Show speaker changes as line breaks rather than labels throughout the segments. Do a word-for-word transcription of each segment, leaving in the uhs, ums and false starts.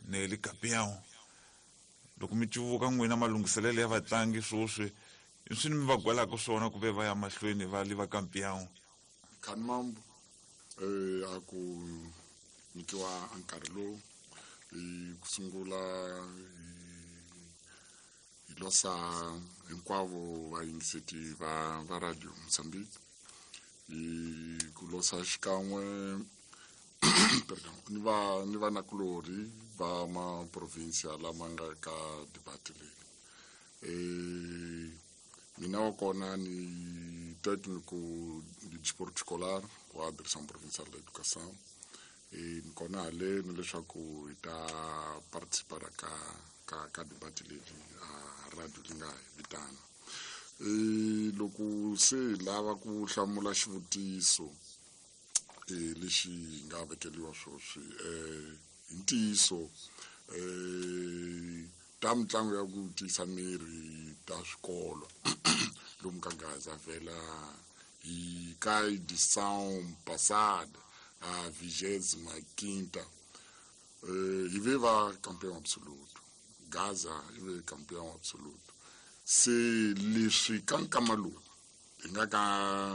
Nelly Campeão. Loko mi cuvuka n'wina malunghiselelo ya vatlangi swoswi i swi mi va gwelaka swona ku ve va ya mahlweni va liva Campeão.
Khanimambu eh a ku nyikiwa nkarhi lowu hi ku sungula hi losa hinkwavo vayingiseti va va Radio Mozambique hi ku losa xikan'we perdón ni va ni vanakulorhi va ma provincia lama nga ka debate leyi. Eh mina wa kona ni técnico de desporto escolar wa Direção Provincial da Educação e ni kona haleni leswaku hi ta participar ka ka ka debate leyi a radio li nga hi vitana. E loko se hi lava ku hlamula xivutiso e lexi hi nga vekeliwa swoswi eh hi ntiyiso eh ta mitlangu ya ku tiyisa miri ta swikolo lomu ka Gaza vhela hi ka edição passada a vigésima quinta eh hi ve va campeão absoluto. Gaza hi ve campeão absoluto. Se leswi ka nkama lowu hi nga ka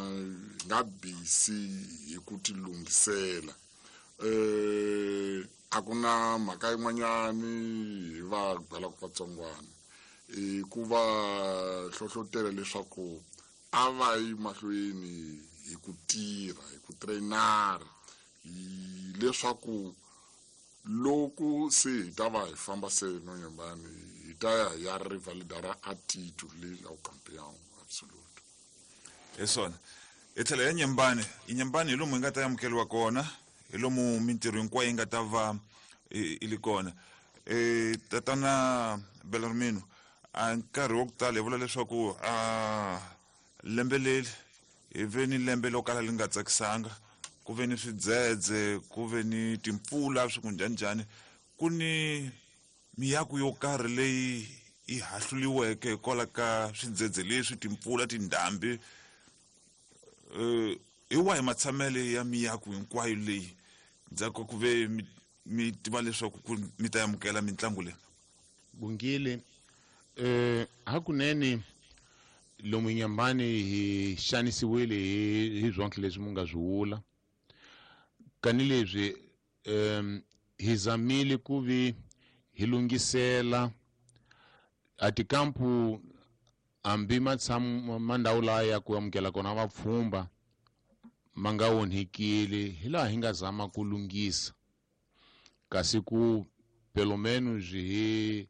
hi nga busy hi ku ti lunghisela eh a ku na mhaka yin'wanyani hi va gwelaka vatsongwana i ku va hlohlotela leswaku a va yi mahlweni hi ku tirha hi ku trainara hi leswaku loko se hi ta va hi famba se nonyembani hi ta ya hi ya rivalidara a titulu leyi ya campeão absoluto.
Hi swona hi tlhela ya Nyembani. I Nyembani hi lomu hi nga ta amukeriwa kona, hi lomu mintirho hinkwayo yi nga ta va i li kona. E tatana Bellarmino, a nkarhi wa ku tala hi vula leswaku a lembe leri hi ve ni lembe lo kala li nga tsakisanga, ku ve ni swidzedze, ku ve ni timpfula swi ku njhaninjhani, ku ni miako yo karhi leyi yi hahluliweke hikwalaho ka swidzedze leswi, timpfula, tindhambi. Eh hi wahi matshamele ya miako hinkwayo leyi ndzhaku ku ve mi, mi tiva leswaku ku mi ta amukela mitlangu leyi?
Bungile, eh hakunene lomu Nyembani hi xanisiwile hi hi swonke leswi mu nga swi vula. Kani leswi um hi zamile ku vi hi lunghisela a tikampu hambi matshamu ma ndhawu laya ya ku amukela kona vapfhumba ma nga onhekile, hi laha hi nga zama ku lunghisa kasi ku pelo menos hi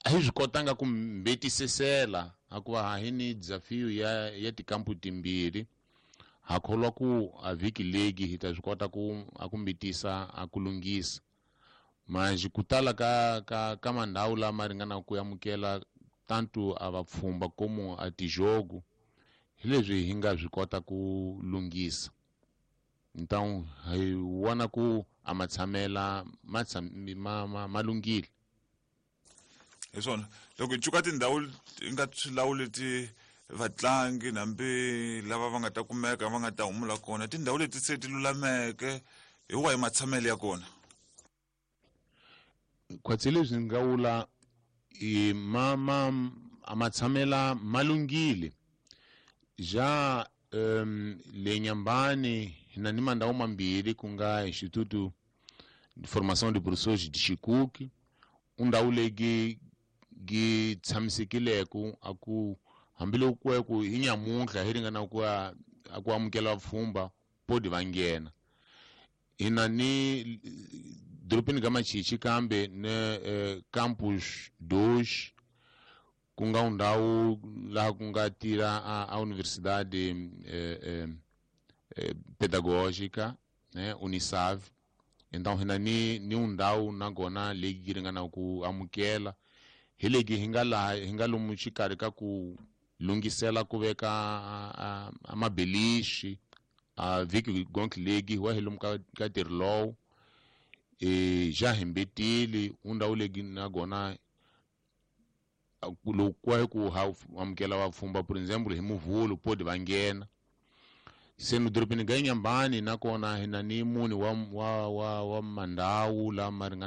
a hi swi kotanga ku mbetisisela hikuva ha hi ni desafio ya ya tikampu timbirhi. Ha kholwa ku a vhiki legi hi ta swi kota ku a ku mbitisa a ku lunghisa. Manjhe ku tala ka ka ka mandhawu lama ringanaka ku amukela tanto a vapfhumba como a tijogo hi leswi hi nga swi kota ku lunghisa. Então hi vona ku a matshamela ma ma ma ma lunghile.
Hi swona loko hi cuka tindhawu hi nga swi leti vatlangi hambi lava va nga ta kumeka va nga ta humula kona, tindhawu leti se ti lulameke hi wahi matshamelo ya kona?
Khwatsi leswi nga vula i ma ma a matshamela ma lunghile. Ja um le Nyambani hi na ni mandhawu mambirhi ku nga Instituto de Formação de Professores de Chicuque, undhawu leyi gi tshamisekileko a ku hambiloko ku ku hi nyamuntlha hi ringana ku a ku amukela vapfhumba podi va nghena. Hi na ni dorobeni ka Machichi kambe ne eh, campus dois ku nga ndhawu laha ku nga tirha a, a universidade eh, eh, eh, pedagógica, né, Unisav. Então hi na ni ni ndhawu nakona leyi yi ringana ku amukela hi legi hi nga laha hi nga lomu xikarhi ka ku lunghisela ku veka a, a mabelixi a vhiki gonk legi wa hi lomu ka ka ntirho lowu. E ja hi mbetile undhawu legi nakona loko ku hi ku ha amukela vapfhumba por exemple hi Muvhulu podi va nghena. Se no dorobeni ga Nyambani nakona hi na ni mune wa wa wa wa mandhawu lama ringana